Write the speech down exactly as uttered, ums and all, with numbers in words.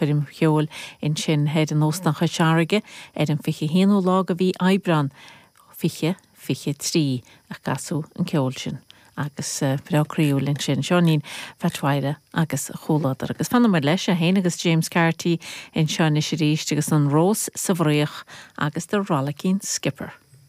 Ceolchoirm cheoil ansin thoir in Óstán Chois Fharraige ar an fiche haonú lá de mhí Aibreán fiche fiche trí a casadh an ceol sin agus breá croíúil ansin Seáinín Pheait Mháire agus a chomhluadar. Agus fanfaimid leis é féin agus James Carty anseo anois arís agus an Rós sa Bhfraoch agus The Rollicking Skipper.